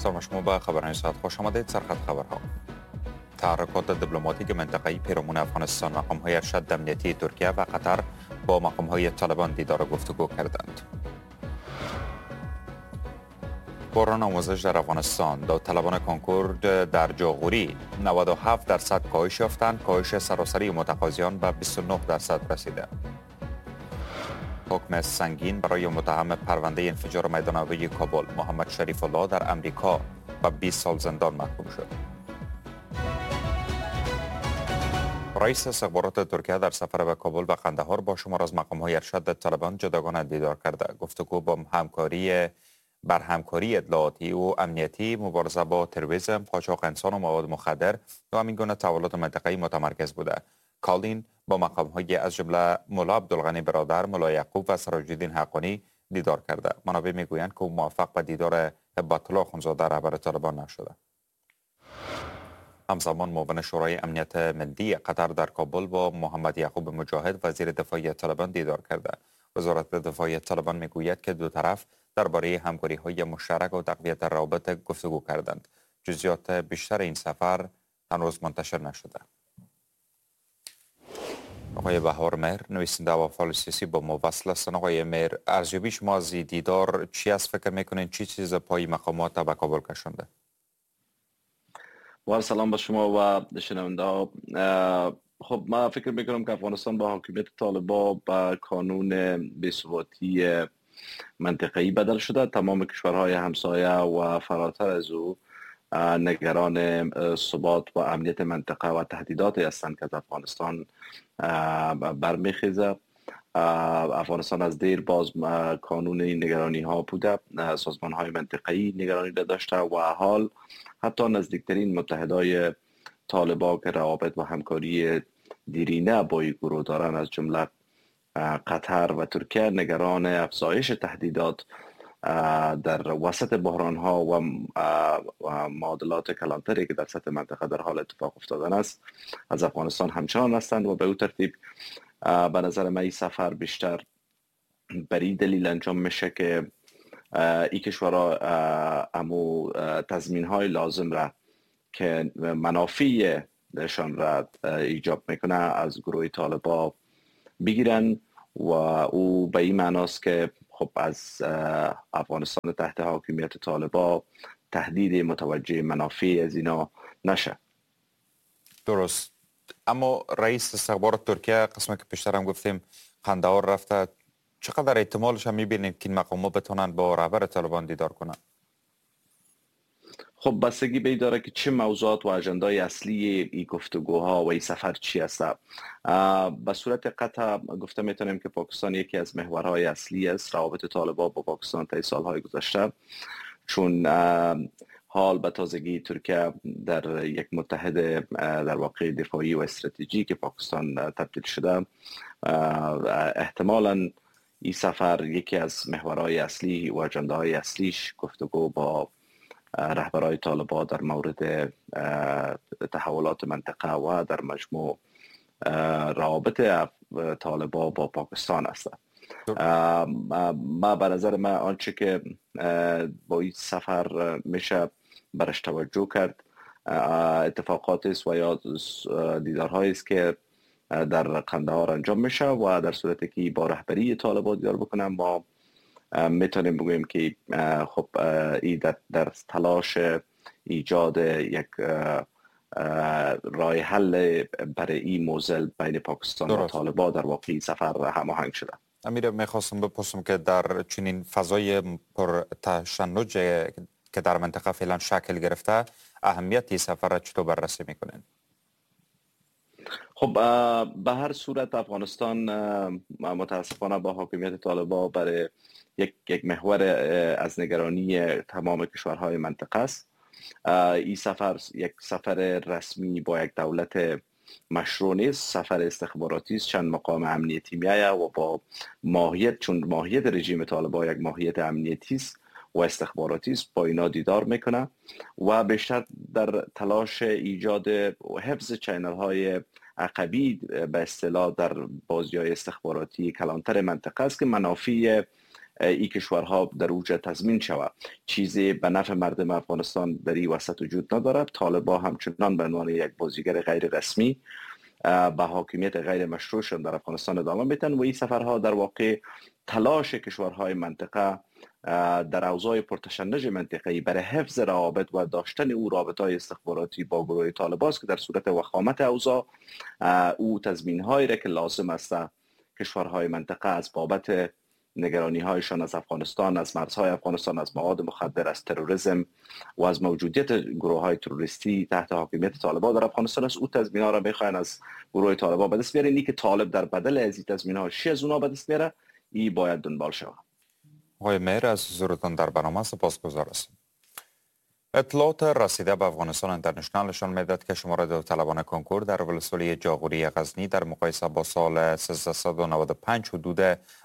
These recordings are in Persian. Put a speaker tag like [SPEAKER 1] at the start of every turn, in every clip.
[SPEAKER 1] سلام شما به خبرهای ساعت خوش آمدید. سرخط خبرها: تحرکات دیپلماتیک منطقه‌ای پیرامون افغانستان، مقام‌های ارشد امنیتی ترکیه و قطر با مقام‌های طالبان دیدار و گفتگو کردند. بحران آموزش در افغانستان، داوطلبان کنکور در جاغوری 97% کاهش یافتند، کاهش سراسری متقاضیان به 29% رسیده. حکم سنگین برای متهم پرونده انفجار میدان هوایی کابل، محمد شریف الله در امریکا به 20 سال زندان محکوم شد. رئیس استخبارات ترکیه در سفر به کابل و قندهار با شمار از مقام‌های ارشد طالبان جداگانه دیدار کرده. گفتگو با بر همکاری اطلاعاتی و امنیتی، مبارزه با تروریسم، قاچاق انسان و مواد مخدر و همین گونه تحولات منطقه‌ای متمرکز بوده. کالین با مقام‌های از جمله ملا عبدالغنی برادر، ملا یعقوب و سراج الدین حقانی دیدار کرده. منابع میگویند که او موفق به دیدار هبت الله اخوندزاده رهبر طالبان نشده. همزمان معاون شورای امنیت ملی قطر در کابل با محمد یعقوب مجاهد وزیر دفاع طالبان دیدار کرده. وزارت دفاع طالبان میگوید که دو طرف درباره همکاری‌های مشترک و تقویت روابط گفتگو کردند. جزئیات بیشتر این سفر هنوز منتشر نشده. آقای بهار مهر، نویسنده و فعال سیاسی با ما وصل هستند. آقای مهر، ارزیابی شما از دیدار چی است؟ فکر میکنین چی چیز پای مقامات به کابل کشانده؟
[SPEAKER 2] با سلام به شما و شنونده ها. خب من فکر میکنم که افغانستان با حاکمیت طالبا به کانون بی‌ثباتی منطقه‌ای بدل شده. تمام کشورهای همسایه و فراتر از او نگران ثبات و امنیت منطقه و تهدیداتی هستند که از افغانستان برمیخیزه. افغانستان از دیر باز کانون نگرانی ها بوده، سازمان های منطقه‌ای نگرانی را داشته و حال حتی نزدیکترین متحدای طالبا که روابط و همکاری دیرینه با این گروه دارن از جمله قطر و ترکیه نگران افزایش تهدیدات در وسط بحران ها و معادلات کلانتری که در سطح منطقه در حال اتفاق افتادن است از افغانستان همچنان هستند و به او ترتیب به نظر من این سفر بیشتر بر این دلیل انجام میشه که این کشورها امو تضمین های لازم را که منافع شان را ایجاب میکنه از گروه طالبا بگیرن و او به این معناست که خب از افغانستان تحت حاکمیت طالبا تهدید متوجه منافع از اینا نشه.
[SPEAKER 1] درست. اما رئیس استخبارات ترکیه قسمی که پیشتر هم گفتیم قندهار رفته، چقدر احتمالش هم میبینید که این مقامات بتونن با رهبر طالبان دیدار کنن؟
[SPEAKER 2] خب بستگی به این داره که چه موضوعات و اجندای اصلی این گفتگوها و این سفر چی است. به صورت قطع گفته میتونیم که پاکستان یکی از محورهای اصلی است روابط طالبان با پاکستان طی سالهای گذشته، چون حال به تازگی ترکیه در یک متحد در واقع دفاعی و استراتژیک پاکستان تبدیل شده. احتمالاً این سفر یکی از محورهای اصلی و اجنداهای اصلیش گفتگو با رهبرای طالبان در مورد تحولات منطقه و در مجموع روابط طالبان با پاکستان است. ما به نظر من آنچه که با این سفر میشه برش توجه کرد اتفاقات است و یا دیدارهایی است که در قندهار انجام میشه و در صورتی که با رهبری طالبان دیدار بکنم ما میتونیم بگوییم که خب این در تلاش ایجاد یک راه حل برای این موزل بین پاکستان و طالبان در واقع سفر هماهنگ شده.
[SPEAKER 1] امیر، میخواستم بپرسم که در چنین فضای پر تشنج که در منطقه فعلا شکل گرفته، اهمیت این سفر را چطور بررسی میکنین؟
[SPEAKER 2] خب به هر صورت افغانستان متاسفانه با حاکمیت طالبان برای یک محور از نگرانی تمام کشورهای منطقه است. این سفر یک سفر رسمی با یک دولت مشروع نیست، سفر استخباراتی است، چند مقام امنیتی میآید و با ماهیت، چون ماهیت رژیم طالبان یک ماهیت امنیتی است و استخباراتی است، با اینا دیدار میکنه و بیشتر در تلاش ایجاد و حفظ چینل های عقبی به اصطلاح در بازی های استخباراتی کلانتر منطقه است که منافع این کشورها در اوج تضمین شود. چیزی به نفع مردم افغانستان در این وسط وجود ندارد. طالبان همچنان به عنوان یک بازیگر غیر رسمی به حاکمیت غیر مشروعشان در افغانستان ادامه میتن و این سفرها در واقع تلاش کشورهای منطقه در اوضاع پرتشنج منطقه‌ای برای حفظ روابط و داشتن او رابطه‌های استخباراتی با گروه طالبان است که در صورت وخامت اوضاع او تضمین‌هایی را که لازم است کشورهای منطقه از بابت نگرانی‌هایشان از افغانستان، از مرزهای افغانستان، از مواد مخدر، از تروریسم و از موجودیت گروه‌های تروریستی تحت حاکمیت طالبان در افغانستان است، او تضمین‌ها را می‌خواهند از گروه طالبان به دست بیارن. اینی که طالب در بدل از این تضمین‌ها چی از اونا به دست میاره، این باید دنبال شود.
[SPEAKER 1] آقای مهر، از حضورتان در برنامه سپاسگزار هستم. اطلاعات رسیده به افغانستان اینترنشنال نشان میدهد که شمار داوطلبان کنکور در ولسوالی جاغوری غزنی در مقایسه با سال 1395 حدود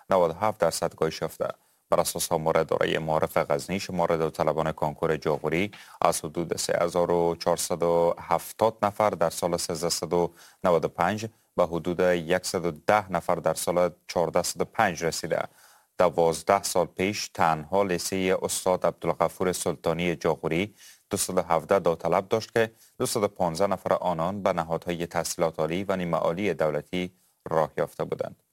[SPEAKER 1] 97% کاهش یافته. بر اساس آمار اداره معارف غزنی، شمار داوطلبان کنکور جاغوری از حدود 3470 نفر در سال 1395 به حدود 110 نفر در سال 1405 رسیده. 12 سال پیش تنها لیسه استاد عبدالغفور سلطانی جاغوری 217 داوطلب داشت که 215 نفر آنان به نهادهای تحصیلات عالی و نیمه عالی دولتی راه یافته بودند.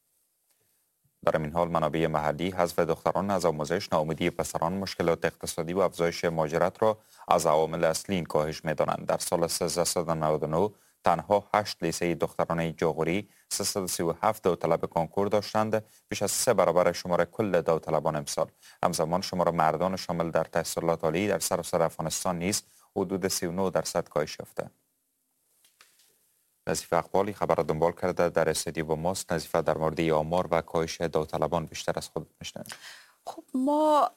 [SPEAKER 1] در این حال منابع محلی حذف دختران از آموزش، ناامیدی پسران، مشکلات اقتصادی و افزایش مهاجرت را از عوامل اصلی این کاهش می‌دانند. در سال 1399 تنها 8 لیسه دخترانه جاغوری 337 داوطلب کنکور داشتند، بیش از 3 برابر شمار کل داوطلبان امسال. همزمان شمار مردان شامل در تحصیلات عالی در سراسر افغانستان نیز حدود 39% کاهش یافته. نظیفه اقبالی خبر را دنبال کرده در استودیو با ماست. نظیفه، در مورد آمار و کاهش داوطلبان بیشتر از خود میشنویم.
[SPEAKER 3] خب ما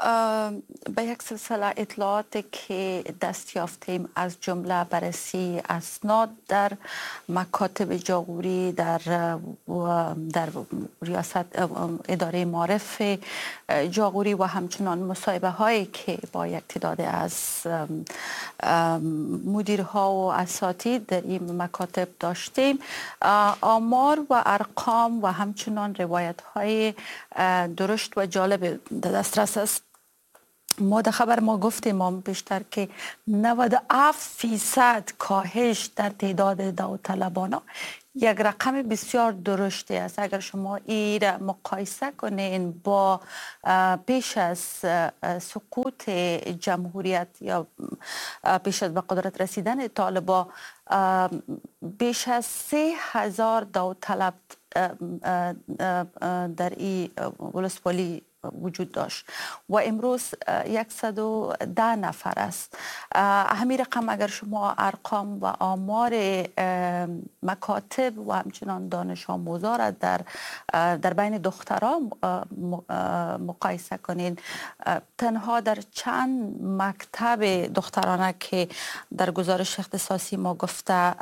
[SPEAKER 3] به یک سلسله اطلاعات که دست یافتیم، از جمله بررسی اسناد در مکاتب جاغوری، در ریاست اداره معارف جاغوری و همچنان مصاحبه هایی که با یک تعداد از مدیرها و اساتید در این مکاتب داشتیم، آمار و ارقام و همچنان روایت های درشت و جالب در دسترس است. ما در خبر ما گفتیم ما بیشتر که 97% کاهش در تعداد داوطلبان یک رقم بسیار درشتی است. اگر شما این را مقایسه کنین با پیش از سقوط جمهوریت یا پیش از به قدرت رسیدن طالبان، بیش از 3000 داوطلب در این ولسوالی وجود داشت و امروز 110 نفر است. همین رقم اگر شما ارقام و آمار مکاتب و همچنان دانش آموزا را در بین دختران مقایسه کنین، تنها در چند مکتب دخترانه که در گزارش اختصاصی ما گفته،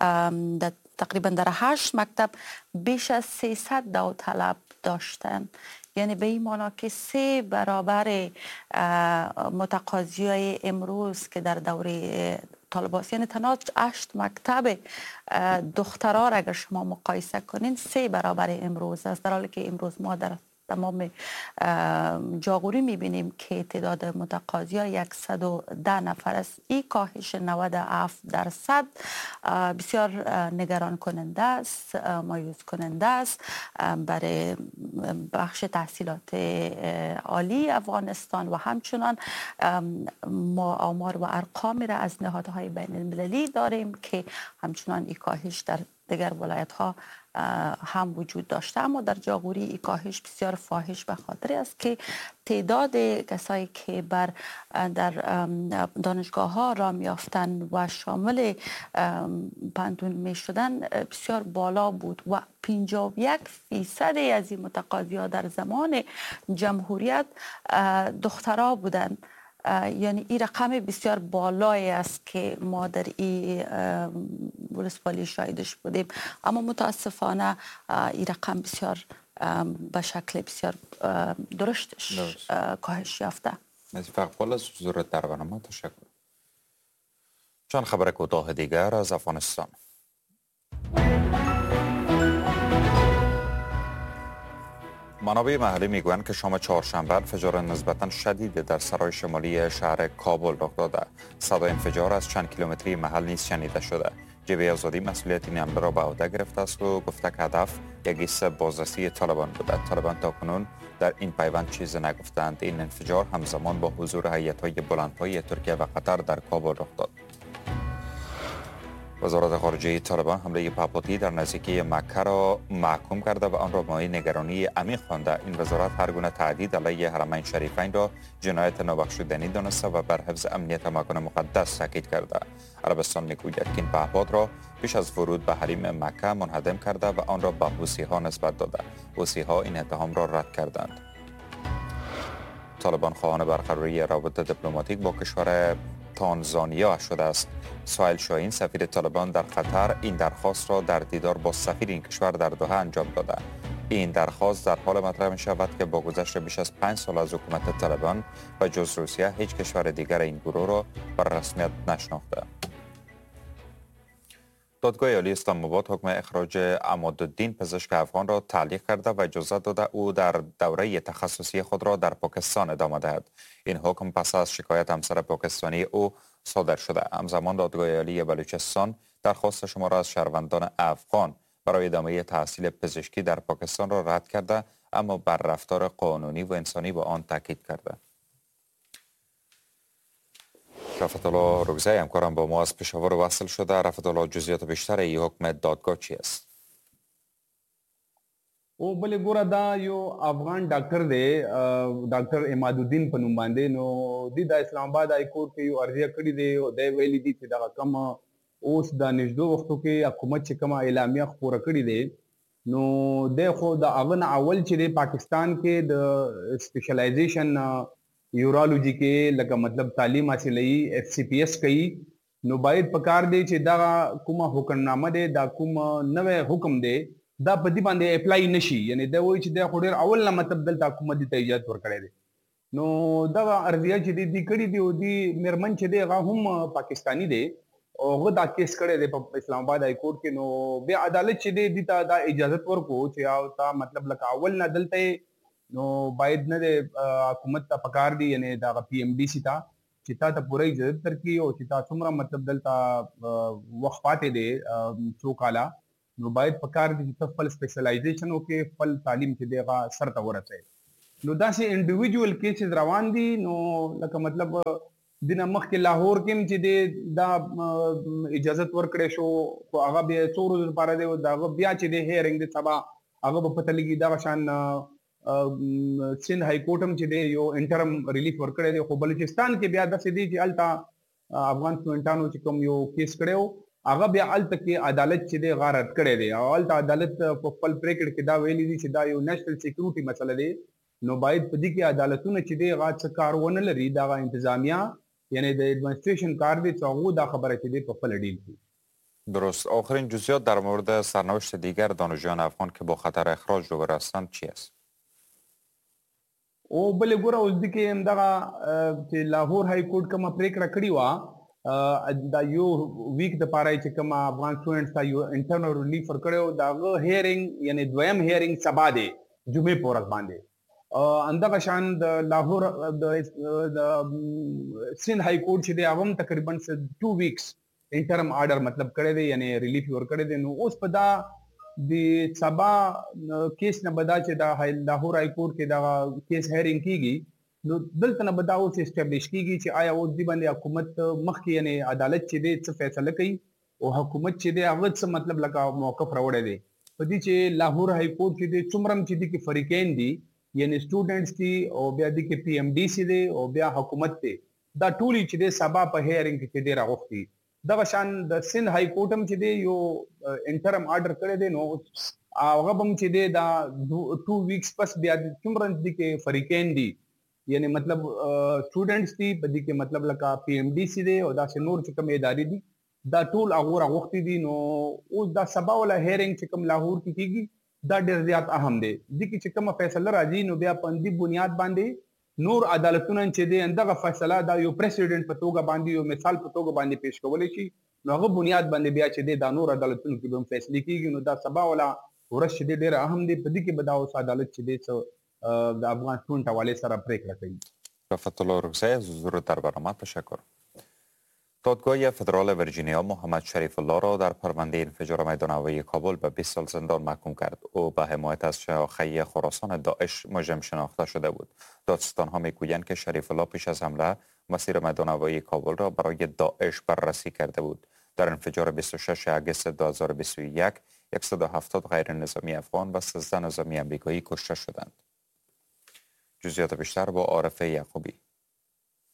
[SPEAKER 3] در تقریبا در 8 مکتب بیش از 300 داوطلب داشتن. یعنی به این معنا که 3 برابر متقاضیای امروز که در دوره طالبان، یعنی تنها 8 مکتب دخترها را اگر شما مقایسه کنین 3 برابر امروز است، در حالی که امروز ما در تمام جاغوری میبینیم که تعداد متقاضیا 110 نفر است. این کاهش 97% بسیار نگران کننده است، مایوس کننده است برای بخش تحصیلات عالی افغانستان و همچنان ما آمار و ارقام را از نهادهای بین المللی داریم که همچنان این کاهش در دیگر ولایت ها هم وجود داشته، اما در جاغوری این کاهش بسیار فاحش به خاطر است که تعداد کسایی که در دانشگاه ها را میافتن و شامل پندون می شدن بسیار بالا بود و 51% از این متقاضی ها در زمان جمهوریت دخترها بودند. یعنی این رقم بسیار بالایی است که ما در این ولسوالی شاهدش بودیم، اما متاسفانه این رقم بسیار به شکل بسیار درشتش کاهش یافته.
[SPEAKER 1] نظیفه اقبال، از حضورت در برنامه تشکر. چند خبر کوتاه دیگر از افغانستان. منابع محلی میگویند که شام چهارشنبه انفجار نسبتا شدید در سرای شمالی شهر کابل رخ داده. صدای انفجار از چند کیلومتری محل نیز شنیده شده. جبهه آزادی مسئولیت این حمله را به عهده گرفته است و گفته که هدف یک ایست بازرسی طالبان بوده. طالبان تاکنون در این پیوند چیزی نگفتند. این انفجار همزمان با حضور هیئت‌های بلندپایه ترکیه و قطر در کابل رخ داد. وزارت خارجه طالبان حمله پهپادی در نزدیکی مکه را محکوم کرده و آن را مایه نگرانی عمیق خوانده. این وزارت هر گونه تهدید علیه حرمین شریفین را جنایت نابخشودنی دانسته و بر حفظ امنیت مکان مقدس تاکید کرده. عربستان میگوید که این پهپاد را پیش از ورود به حریم مکه منهدم کرده و آن را به حوثی‌ها نسبت داده. حوثی‌ها این اتهام را رد کردند. طالبان خواهان برقراری روابط دیپلماتیک با کشور تانزانیا شده است. سهیل شاهین سفیر طالبان در قطر این درخواست را در دیدار با سفیر این کشور در دوحه انجام داده. این درخواست در حال مطرح می شود که با گذشت بیش از 5 سال از حکومت طالبان و جز روسیه هیچ کشور دیگر این گروه را بر رسمیت نشناخته. دادگاه عالی اسلام آباد حکم اخراج عمادالدین پزشک افغان را تعلیق کرده و اجازه داده او در دوره تخصصی خود را در پاکستان ادامه دهد. این حکم پس از شکایت همسر پاکستانی او صادر شده. همزمان دادگاه عالی بلوچستان درخواست شما از شهروندان افغان برای ادامه تحصیل پزشکی در پاکستان را رد کرده، اما بر رفتار قانونی و انسانی با آن تاکید کرده. رفعت الله روزی همکارم با ما از پشاور وصل شده. رفعت الله، جزئیات بیشتر این حکم دادگاه چی است؟
[SPEAKER 4] او بله ګوره، دا یو افغان ډاکټر دی، ډاکټر عماد الدین په نوم باندې. نو دی د اسلام آباد های کورټ کې یو عرضه کړې دی او دی ویلي دي چې دغه کوم اوس د نږدو وختو کې حکومت چې کومه اعلامیه خپوره کړې دی، نو دی خو د هغه نه اول چې دی پاکستان کې د سپیشلایزیشن یورولوژي کې لکه مطلب تعلیم حاصلوي، اف سی پی اس کوي، نو باید په کار دی چې دغه کومه حکمنامه دی، دا کوم نوی حکم دی، دا په دې باندې اپلای نشي. یعنی دا وایي چې دا خو ډېر اول نه مطلب دلته حکومت دې ته اجازه ورکړی دی. نو دغه عرضیه چې دی کړې دی او دی مېرمن چې دی هغه هم پاکستانی دی او هغه دا کیس کړی دی په اسلام آباد های کورټ کې. نو بیا عدالت چې دی دې ته دا اجازه ورکړو چې او تا مطلب لکه اول نه دلته، نو باید نه دی حکومت ته پکار دی، یعنی دغه پی ایم ډي سي ته چې تا ته پوره اجازه درکړي او چې تا څومره مطلب دلته وخت پاتې دی څو کاله، نو باید پکار دی چې ته خپل سپیشلایزیشن وکړې، خپل تعلیم چې دی هغه سر ته ورسوې. نو داسې انډیویجوال کیسز روان دي. نو لکه مطلب دینه مخکې لاهور کې هم چې دی دا اجازت ورکړی شو، خو هغه بیا څو ورځو لپاره دی او د هغه بیا چې دی هیرینګ دی سبا هغه به پته لګي. دغه شان سند های کورټ هم چې دی یو انټرم ریلیف ورکړی دی. خو بلوچستان کې بیا داسې دی چې هلته افغان سټوډنټانو چې کوم یو کیس کړی و، هغه بیا هلته کې عدالت چې دی هغه رد کړی دی او هلته عدالت په خپل پرېکړه کې دا ویلي دي چې دا یو نېشنل سیکورټي مسله دی، نو باید په دې کې عدالتونه چې دی هغه څه کار ونه لري، دغه انتظامیه یعنی د ادمنستریشن کار دی چې هغو دا خبره چې دی په خپله ډیل کړي.
[SPEAKER 1] درست. آخرین جزئیات در مورد سرنوشت دیگر دانشجویان افغان که با خطر اخراج روبرو هستند چی است؟
[SPEAKER 4] او بله ګوره، اوس دې کې هم دغه چې لاهور های کورټ کومه پرېکړه کړې وه، دا یو ویک دپاره یې چې کومه افغان سټوډنټس ته یو انټرنل ریلیف ورکړی و، د هغه هیرینګ یعنی دویم هیرینګ سبا دی جمعې په ورځ باندې. همدغه شان د لاهور د سند های کورټ چې دی هغه هم تقریبا 2 ویکس انټرم آرډر مطلب کړی دی، یعنی ریلیف یې ورکړی دی. نو اوس په دا د سبا کیس نه به دا چې د لاهور های کورټ کې دغه کیس هیرینګ کیږي، نو دلته نه به دا اوس اسټابلیش کیږي چې آیا اوس دې باندې حکومت مخکې یعنی عدالت چې دی څه فیصله کوي او حکومت چې دی هغه څه مطلب لکه موقف راوړی دی. په دې چې لاهور های کورټ چې دی څومره هم چې دې کې فریقین دي، یعنی سټوډنټس دي او بیا دې کې پی ایم ډي سي دی او بیا حکومت دی، دا ټولې چې دی سبا په هیرینګ کې چې دی راغوښتي. دغه شان د سند های کورټ هم چې دی یو انټرم آرډر کړی دی، نو هغه به هم چې دی دا 2 ویکس پس بیا څومره دې کې فریقین دي، یعنی مطلب سټوډنټس دي په دې کې مطلب لکه پی ایم ډي سي دی او داسې نور چې کوم ادارې دي دا ټول هغو راغوښتي دي. نو اوس دا سبا والا هیرینګ چې کوم لاهور کې کیږي دا ډېر زیات اهم دی. دې کې چې کومه فیصله راځي نو بیا په همدې بنیاد باندې نور عدالتونه چې دی همدغه فیصله دا یو پریسیډنټ په توګه باندې یو مثال په توګه باندې پیش کولی شي، نو هغه بنیاد باندې بیا چې دی دا نور عدالتونو کې به هم فیصلې کیږي. نو دا سبا والا ورځ چې دی ډېره اهم دی، په دې کې به دا اوس عدالت چې دی څه د افغان سټوډنټ حوالې سره پرېکړه کوي.
[SPEAKER 1] رفعت الله اورکزی، از حضور در برنامه تشکر. دادگاه فدرال ویرجینیا محمد شریف الله را در پرونده انفجار میدان هوایی کابل به 20 سال زندان محکوم کرد. او به حمایت از شاخه خراسان داعش مجرم شناخته شده بود. دادستان ها میگویند که شریف الله پیش از حمله مسیر میدان هوایی کابل را برای داعش بررسی کرده بود. در انفجار 26 اگست 2021 170 غیر نظامی افغان و 13 نظامی آمریکایی کشته شدند. جزئیات بیشتر با عارف یعقوبی.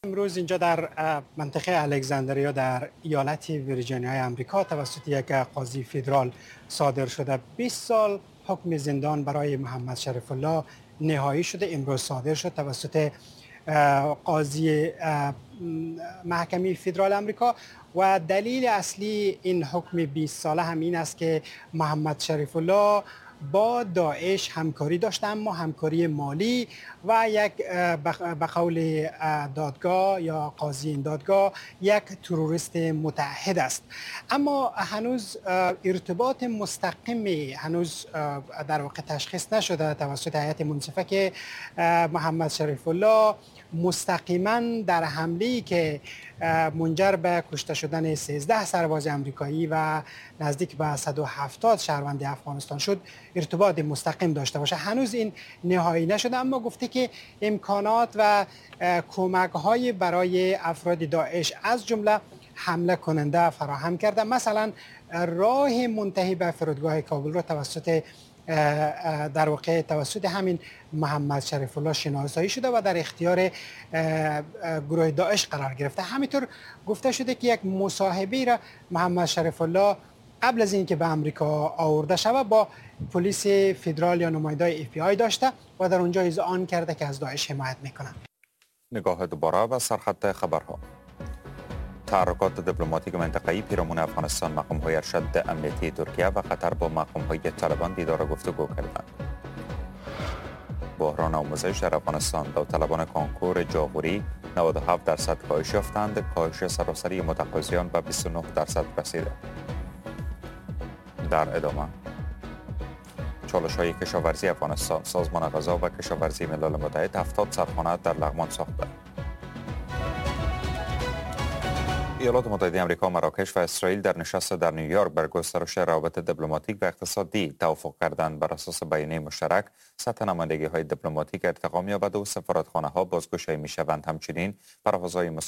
[SPEAKER 5] امروز اینجا در منطقه الکساندریا در ایالت ویرجینیای آمریکا توسط یک قاضی فدرال صادر شده 20 سال حکم زندان برای محمد شریف الله نهایی شده. امروز صادر شد توسط قاضی محکمه فدرال آمریکا و دلیل اصلی این حکم 20 ساله هم این است که محمد شریف الله با داعش همکاری داشته، اما همکاری مالی و یک به قول دادگاه یا قاضی این دادگاه یک تروریست متعهد است. اما هنوز ارتباط مستقیمی هنوز در واقع تشخیص نشده توسط هیئت منصفه که محمد شریف الله مستقیما در حمله‌ای که منجر به کشته شدن 13 سرباز آمریکایی و نزدیک به 170 شهروند افغانستان شد ارتباط مستقیم داشته باشه. هنوز این نهایی نشده، اما گفته که امکانات و کمک‌های برای افراد داعش از جمله حمله کننده فراهم کرده. مثلا راه منتهی به فرودگاه کابل را توسط در واقع توسط همین محمد شریف الله شناسایی شده و در اختیار گروه داعش قرار گرفته. همینطور گفته شده که یک مصاحبه را محمد شریف الله قبل از اینکه به امریکا آورده شود با پلیس فدرال یا نماینده FBI داشته و در اونجا اذعان کرده که از داعش حمایت میکنه.
[SPEAKER 1] نگاه دوباره به سرخط خبرها. تحرکات دیپلماتیک منطقه‌ای پیرامون افغانستان، مقام‌های ارشد امنیتی ترکیه و قطر با مقام‌های طالبان دیدار و گفتگو کردند. بحران آموزش در افغانستان، داوطلبان کنکور جاغوری 97% کاهش یافتند، کاهش سراسری متقاضیان به 29% رسیده. در ادامه چالش‌های کشاورزی افغانستان، سازمان غذا و کشاورزی ملل متحد 70 سرخانه در لغمان ساخته. ایالات متحده آمریکا، مراکش و اسرائیل در نشست در نیویورک بر گسترش روابط دیپلماتیک و اقتصادی توافق کردند. بر اساس بیانیه مشترک، سطح نمایندگی‌های دیپلماتیک ارتقا می‌یابد و سفارتخانه‌ها بازگشایی می‌شوند. همچنین پروازهای